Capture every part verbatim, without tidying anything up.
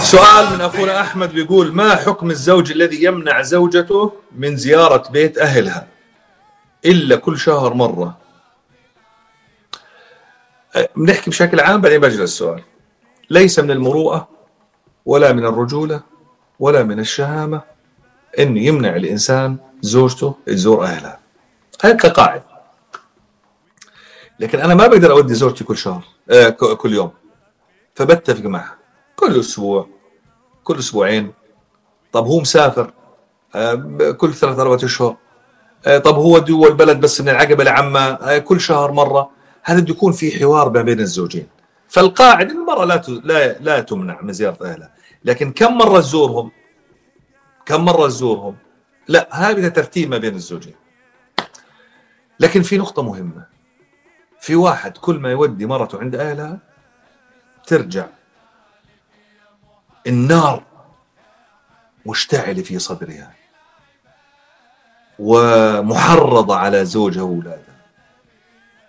سؤال من أخونا أحمد بيقول: ما حكم الزوج الذي يمنع زوجته من زيارة بيت أهلها إلا كل شهر مرة؟ بنحكي بشكل عام بعدين بجري السؤال. ليس من المروءة ولا من الرجولة ولا من الشهامة إنه يمنع الإنسان زوجته تزور أهلها، هاي كقاعدة. لكن أنا ما بقدر أودي زوجتي كل شهر آه كل يوم، فبتفق معها كل أسبوع كل أسبوعين. طب هو مسافر آه كل ثلاث أربعة أشهر. آه طب هو دول البلد بس من العقبة لعمة آه كل شهر مرة. هذا بده يكون في حوار ما بين الزوجين. فالقاعدة المرأة لا لا لا تمنع من زيارة أهلها، لكن كم مرة تزورهم كم مرة تزورهم لا، هذا ترتيب ما بين الزوجين. لكن في نقطة مهمة: في واحد كل ما يودي مرته عند أهلها ترجع النار مشتعلة في صدرها ومحرضة على زوجها وأولادها.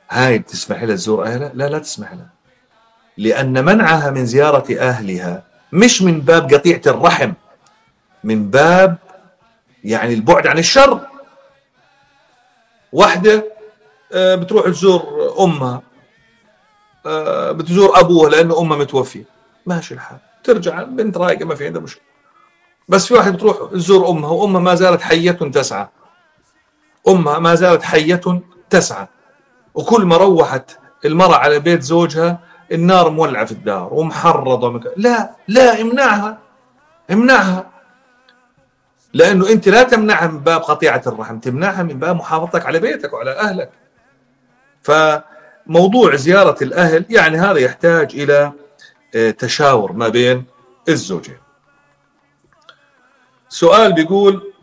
هاي بتسمح لها تزور أهلها؟ لا لا تسمح لها، لأن منعها من زيارة أهلها مش من باب قطيعة الرحم، من باب يعني البعد عن الشر. واحدة بتروح تزور أمها، بتزور أبوها لأنه أمها متوفية، ماشي الحال، ترجع بنت رايقة ما في عندها مشكلة. بس في واحد بتروح تزور أمها وأمها ما زالت حية تسعى، أمها ما زالت حية تسعى، وكل ما روحت المرأة على بيت زوجها النار مولعة في الدار ومحرضة مك... لا لا امنعها امنعها، لأنه أنت لا تمنعها من باب قطيعة الرحم، تمنعها من باب محافظتك على بيتك وعلى أهلك. فموضوع زيارة الأهل يعني هذا يحتاج إلى تشاور ما بين الزوجين. سؤال بيقول: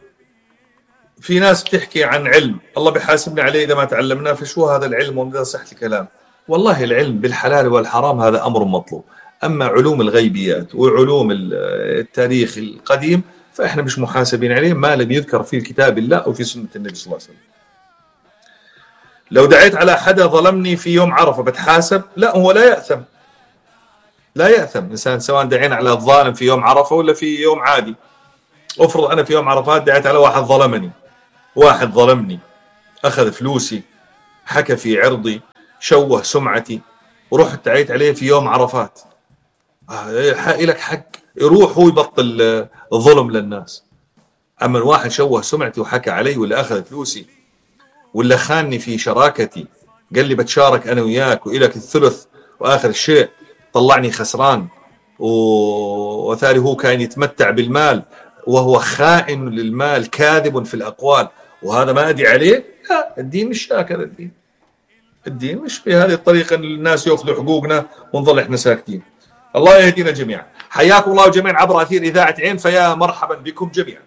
في ناس بتحكي عن علم الله بيحاسبنا عليه إذا ما تعلمناه، فشو هذا العلم وماذا صحة الكلام؟ والله العلم بالحلال والحرام هذا أمر مطلوب، أما علوم الغيبيات وعلوم التاريخ القديم فإحنا مش محاسبين عليه ما لم يذكر في كتاب الله أو في سنة النبي صلى الله عليه وسلم. لو دعيت على حدا ظلمني في يوم عرفة بتحاسب؟ لا، هو لا يأثم لا يأثم إنسان سواء دعينا على الظالم في يوم عرفة ولا في يوم عادي. أفرض أنا في يوم عرفات دعيت على واحد ظلمني، واحد ظلمني أخذ فلوسي، حكى في عرضي، شوه سمعتي، ورحت دعيت عليه في يوم عرفات، لك حق يروح هو يبطل الظلم للناس. أما الواحد شوه سمعتي وحكى علي ولا أخذ فلوسي ولا خانني في شراكتي، قال لي بتشارك أنا وياك وإلك الثلث، وآخر الشيء طلعني خسران، وثاني هو كان يتمتع بالمال وهو خائن للمال كاذب في الأقوال، وهذا ما أدي عليه. لا، الدين مش هكذا. الدين الدين مش بهذه الطريقة أن الناس يأخذوا حقوقنا ونظل إحنا ساكتين. الله يهدينا جميعا. حياكم الله جميعا عبر أثير إذاعة عين، فيا مرحبا بكم جميعا.